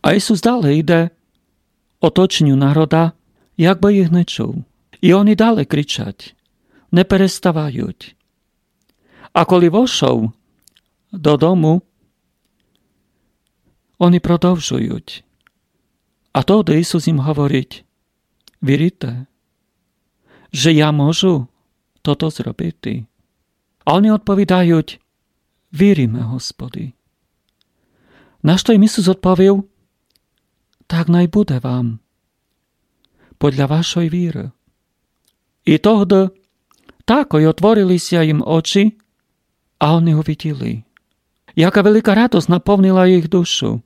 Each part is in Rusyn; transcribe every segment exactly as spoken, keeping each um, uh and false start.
А Ісус дале йде оточеню народа, якбы їх не чув. І они дале кричать, не переставають. А коли вошов додому, они продовжують. А тогды Ісус їм говорить: «Вірите, же я можу тото зробити?» А они одповідають: «Віриме, Господи». На што їм Ісус одповів: «Так най буде вам подля вашой віры». І тогды такой отворили ся їм очі, а они увиділи. Яка велика радость наповнила їх душу.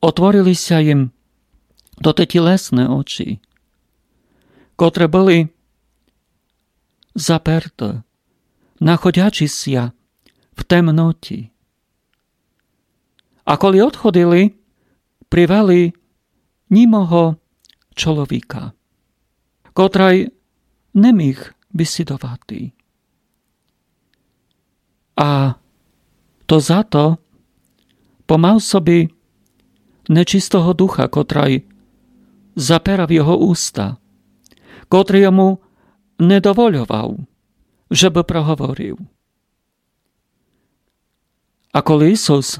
Отворили ся їм тоты тілесны очі, котры были заперты, находячи ся в темноті. А коли одходили, привели німого чоловіка, котрый не міг бесідовати. А то зато, бо мав собі нечистого духа, котрый заперав його уста, котрый йому не довольовав, жебы проговорив. А коли Ісус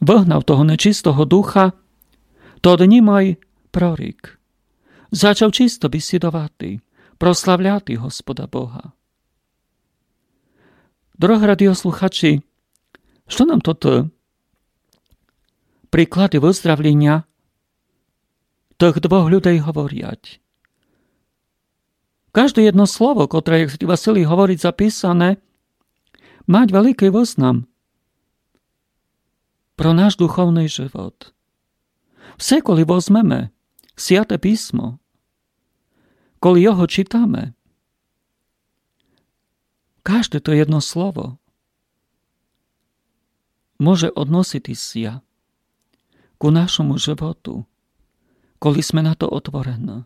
выгнав того нечистого духа, тот німый прорік зачав чисто бесідовати, прославляти Господа Бога. Дорогы радіослухачі, што нам тоты приклады выздравліня тых двох людей говорять? Кажде єдно слово, котре, як святый Василій говорить, записане, мать великый вызнам про наш духовный живот. Все, коли возмеме Святе Писмо, коли його читаме, кажде то єдно слово може односити ся ку нашому животу, коли сме на то отворены.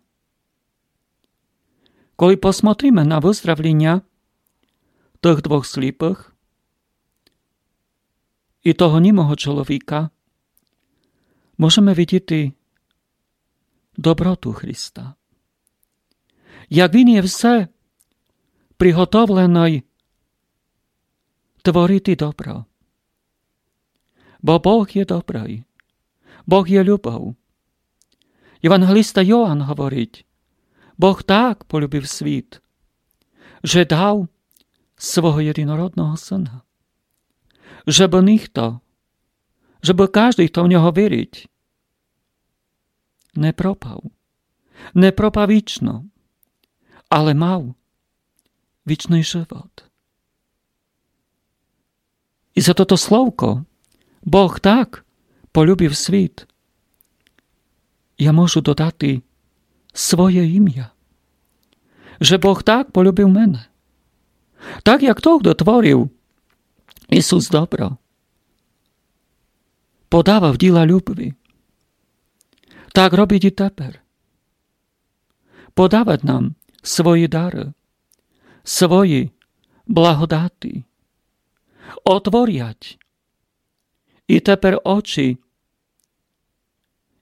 Коли посмотриме на выздравліня тых двох сліпых і того німого чоловіка, можеме видіти доброту Христа. Як Він є все приготовленый творити добро. Бо Бог є добрый. Бог є любов. Євангелиста Йоан говорить: «Бог так полюбив світ, же дав свого єдинородного Сына, жебы ніхто, жебы каждый, хто в нього вірить, не пропав, не пропав вічно, але мав вічный живот». І за тото словко «Бог так полюбив світ» я можу додати своє імя, же Бог так полюбив мене. Так як тогды творив Ісус добро, подавав діла любви, так робить і тепер. Подавать нам свої дары, свої благодати. Отворять і тепер очі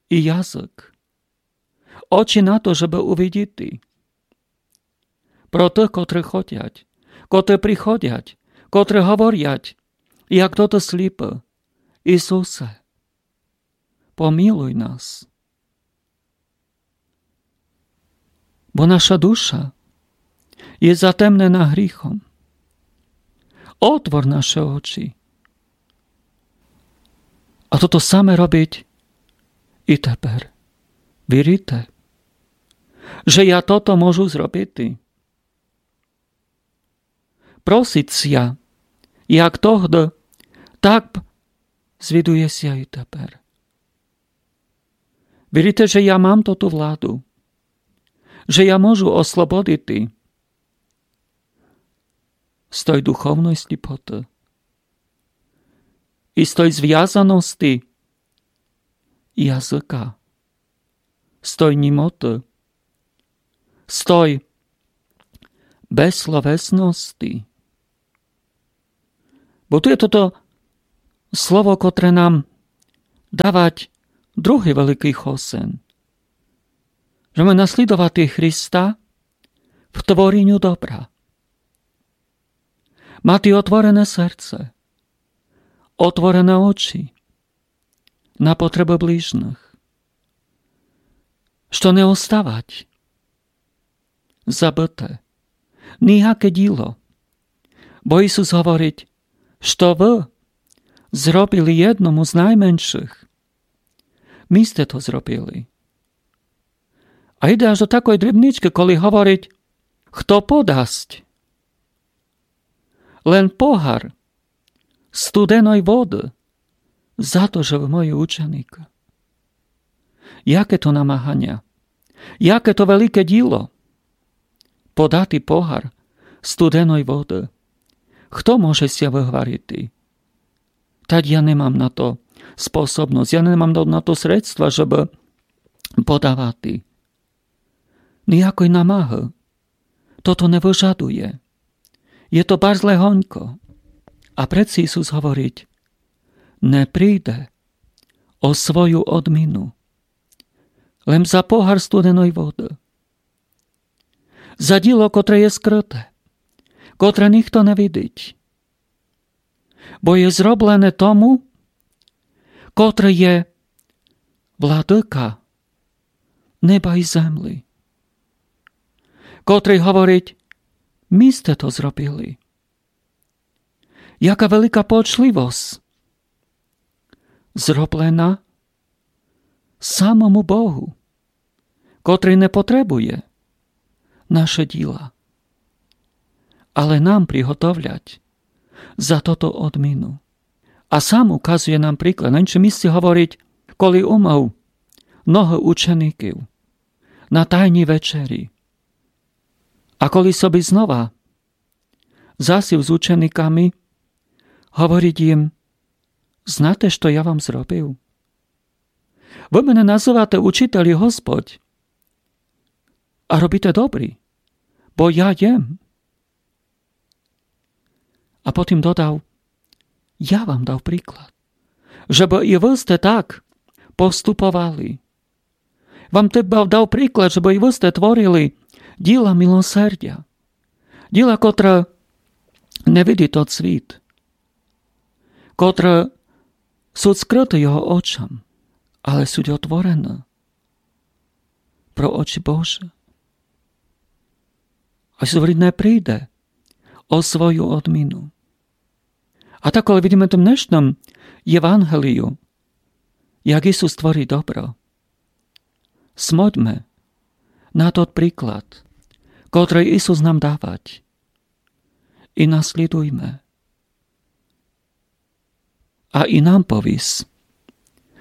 і язык. Очі на то, жебы увидіти. Про тых, котры ходять, котры приходять, котры говорять, як тото сліпый: «Ісусе, помилуй нас». Бо наша душа є затемнена гріхом. Отвор наші очі. А тото саме робить і тепер. Вірите, же я тото можу зробити? Просить ся, як тогды, так звідує ся і тепер. Вірите, же я мам тоту владу, же я можу ослободити з той духовной сліпоты і з той звязаности языка, з той німоты, з той безсловесности. Бо ту є тото слово, котре нам давать Другый великый хосен, же маме наслідовати Христа в твореню добра. Мати отворене серце, отворене очі на потребы ближніх. Што не оставать забыте нияке діло. Бо Ісус говорить, што вы зробили єдному з найменшых, ми сте то зробили. А йде аж до такой дрібничкы, коли говорить, хто подасть лен погар студеной воды за то, же вы мої ученікы. Яке то намаганя, яке то велике діло подати погар студеной воды. Хто може ся выгварити? Тадь я не мам на то способность, я не мам на, на то средства, жебы подавати. Ниякой намагы тото не выжадує. Є то барз легонько. А преце Ісус говорить: не прийде о свою одміну лем за погар студеной воды. За діло, котре є скрыте, котре нихто не видить. Бо є зроблене тому, котрый є владыка неба і землі, котрый говорить: ми сте то зробили. Яка велика почливость зроблена самому Богу, котрый не потребує наше діла, але нам приготовлять за тото одміну. А сам указує нам приклад. На іншому місці говорить, коли умыв ногы ученіків на тайній вечері, а коли собі знова засів з ученіками, говорить їм: знате, што я вам зробив? Вы мене называте учитель і Господь, а робите добрі, бо я єм. А потім додав: я вам дав приклад, жебы і вы сте так поступовали. Вам теба дав приклад, жебы і вы сте творили діла милосердя, діла, котре не видить тот світ, котре суть скрыты його очам, але суть отворены про очі Божі. А Ісус говорить: не прийде о свою одміну. А так, коли видиме в тім днешнім Євангелію, як Ісус творить добро, смотьме на тот приклад, котрый Ісус нам давать, і наслідуйме. А і нам повіс,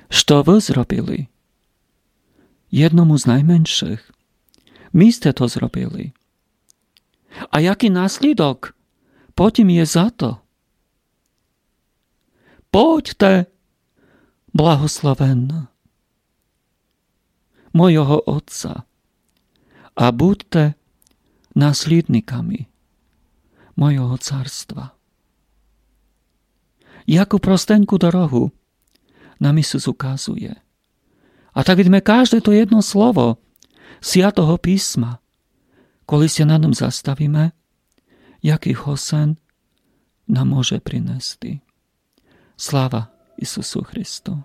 што вы зробили єдному з найменшых, ми сте то зробили. А якый наслідок потім є за то? Будьте благословенны мойого Отця, а будьте наслідниками мойого царства. Яку простеньку дорогу нам Ісус указує. А так видиме кажде то єдно слово Святого Писма, коли ся над ним заставиме, якый хосен нам може принести. Слава Ісусу Христу!